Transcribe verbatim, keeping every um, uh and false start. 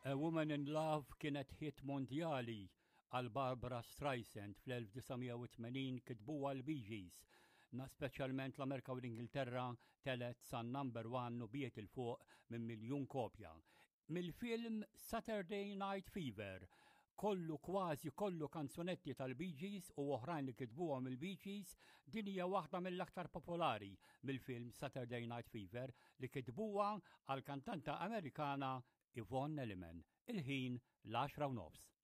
A Woman in Love kienet hit mondjali għal Barbra Streisand fl-elf disa' mija u tmenin, kitbuha l-Bee Gees. Na speċjalment l-Amerika u l-Ingilterra telgħet sa number one u biegħet 'il fuq minn miljun kopja. Mill-film Saturday Night Fever, kollu, kważi kollu kanzunetti tal-Bee Gees u oħrajn li kitbuhom il-Bee Gees, din hija waħda mill-aktar popolari mill-film Saturday Night Fever li kitbuha għal kantanta Amerikana Yvonne Elliman. Il-ħin l-għaxra u nofs.